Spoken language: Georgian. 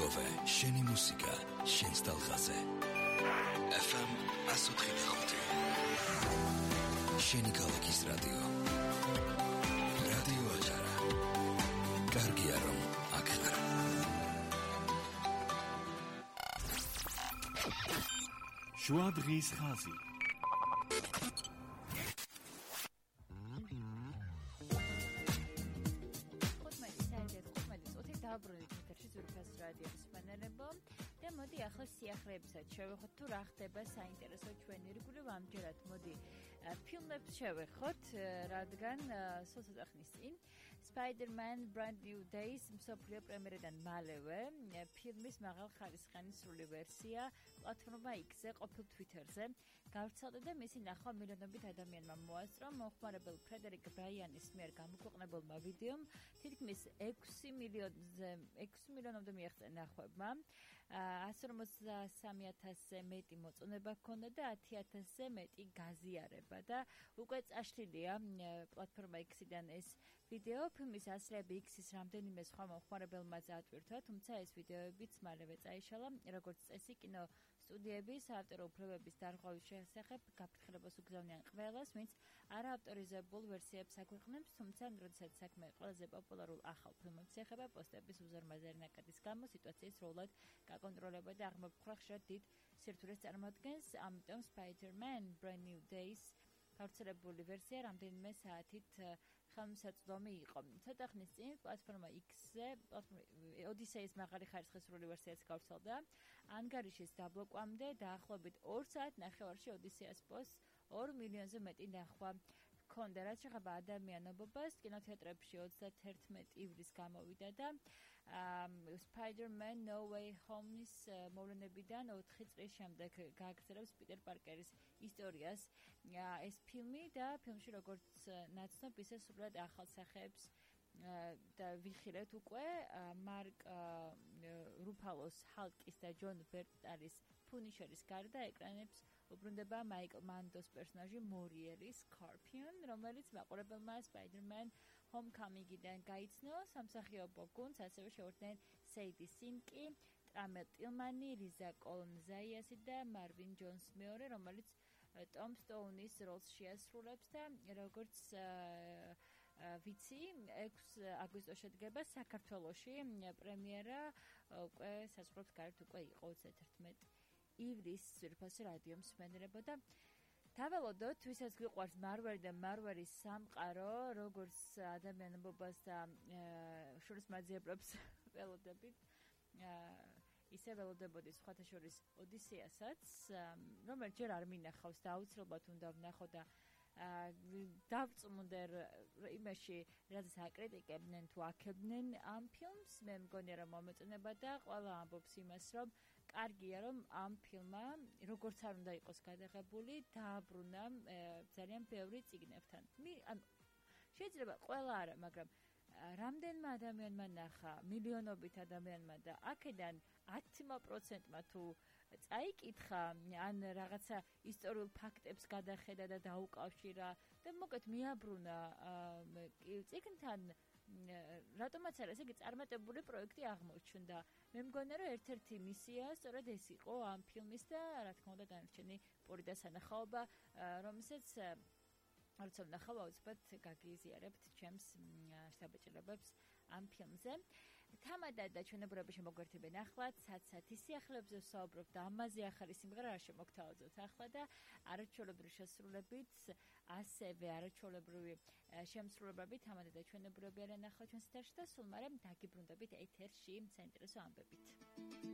მეგობე, შენი მუსიკა, შენს ტალღაზე. FM 104.5. შენი ქალაქის რადიო. რადიო აჭარა. კარგია რომ აქ ხარ. შუა დღის ხაზი. დაბრუნდით ეთერში ზურფას რადიოს სპანერებო და მოდი ახლა სიახლეებსაც შევეხოთ თუ რა ხდება საინტერესო ჩვენი ირგვლივ ამჯერად მოდი ფილმებს შევეხოთ რადგან სულ ცოტა ხნის წინ Spider-Man Brand New Days მსოფლიო პრემიერიდან მალევე ფილმის მაღალხარისხიანი სრული ვერსია პლატფორმა X-ზე ყოფილ Twitter-ზე გავრცელდა და მისი ნახვა მილიონობით ადამიანმა მოასწრო მომხმარებელ ფრედერიკ ბრაიანის მიერ გამოქვეყნებულმა ვიდეომ თითქმის 6 მილიონამდე მიაღწია ნახვებმა 153,000-ზე მეტი მოწონება ჰქონდა და 10,000-ზე მეტი გაზიარება და უკვე წაშლილია პლატფორმა X-დან ეს ვიდეო ფილმის ასლები X-ის რამდენიმე სხვა მომხმარებელმა წაატვირთვა, თუმცა ეს ვიდეოებიც მალევე წაიშალა, როგორც წესი კინო სტუდიების ავტორ უფლებების დარღვევის შესახებ გაფრთხილებას უგზავნიან ყველას, ვინც არაავტორიზებულ ვერსიებს აქვეყნებს, თუმცა როდესაც საქმე ყველაზე პოპულარულ ახალ ფილმებს ეხება პოსტების უზარმაზარი ნაკადის გამო სიტუაციის სრულად გაკონტროლება და აღმოფხვრა ხშირად დიდ სირთულეს წარმოადგენს, ამიტომ Spider-Man Brand New Days გავრცელებული ვერსია რამდენიმე საათით ხელმისაწვდომი იყო. ცოტა ხნის წინ პლატფორმა X-ზე ოდისეის მაღალი ხარისხის სრული ვერსიაც გავრცელდა. ანგარიშის დაბლოკვამდე დაახლოებით 2 საათნახევარში ოდისეას პოსტს 2 მილიონზე მეტი ნახვა ჰქონდა, რაც შეეხება ადამიანობობას, კინოთეატრებში 31 ივლის გამოვიდა და Spider-Man No Way Home-ის მოვლენებიდან 4 წლის შემდეგ გააგრძელებს პიტერ პარკერის ისტორიას ეს ფილმი და ფილმში როგორც ნაცნობ, ისე სრულად ახალ სახეებს და ვიხილეთ უკვე მარკ რუფალოს ჰალკის და ჯონ ბერტალის ფუნიშერის გარდა ეკრანებს უბრუნდება მაიკლ მანდოს პერსონაჟი მორიელი სკორპიონ, რომელიც მაყურებელმა Spider-Man Homecoming-იდან გაიცნო. სამსახიობო გუნდს ასევე შეუერთდნენ სეიდი სინკი, ტრამელ ტილმანი, რიზა კოლონზაიასი და მარვინ ჯონს მეორე, რომელიც ტომ სტოუნის როლს შეასრულებს და როგორც ვიცი 6 აგვისტოში შედგება საქართველოში პრემიერა უკვე საზღვრებს გარეთ უკვე იყო 31 ივლის ზურფას რადიო მსმენელებო და დაველოდოთ ვისაც გიყვარს მარველი და მარველის სამყარო როგორც ადამიანობობას და შურისმაძიებლებს ველოდებით ისე ველოდებოდი სხვათა შორის ოდისეასაც რომელიც ჯერ არ მინახავს და აუცილებლად უნდა ვნახო და დავწმუნდე იმაში რაზეც აკრიტიკებდნენ თუ აქებდნენ ამ ფილმს მე მგონია რომ მომეწონება და ყველა ამბობს იმას რომ კარგია რომ ამ ფილმმა როგორც არ უნდა იყოს გადაღებული დააბრუნა ძალიან ბევრი წიგნებთან შეიძლება ყველა არა მაგრამ რამდენმა ადამიანმა ნახა მილიონობით ადამიანმა და აქედან 10%-მა თუ წაიკითხა ან რაღაცა ისტორიულ ფაქტებს გადახედა და დაუკავშირა და მოკეთ მიაბრუნა წიგნთან რატომაც არა, ესე იგი წარმატებული პროექტი აღმოჩნდა. მე მგონია რომ ერთ-ერთი მისია სწორედ ეს იყო ამ ფილმის და რა თქმა უნდა დანარჩენი პური და სანახაობა, რომელსაც როცა ვნახავ აუცილებლად გაგიზიარებთ ჩემს შთაბეჭდილებებს ამ ფილმზე. თამადად და ჩვენებურები შემოგვერთებენ ახლა, ცაცათი სიახლეებზე ვსაუბრობთ და ამაზე ახალი სიმღერა არ შემოგთავაზოთ ახლა და არაჩვეულებრივი შესრულებით, ასევე არაჩვეულებრივი შემსრულებლებით თამადად და ჩვენებურები არიან ახლა ჩვენს ეთერში და სულ მალე დაგიბრუნდებით ეთერში საინტერესო ამბებით.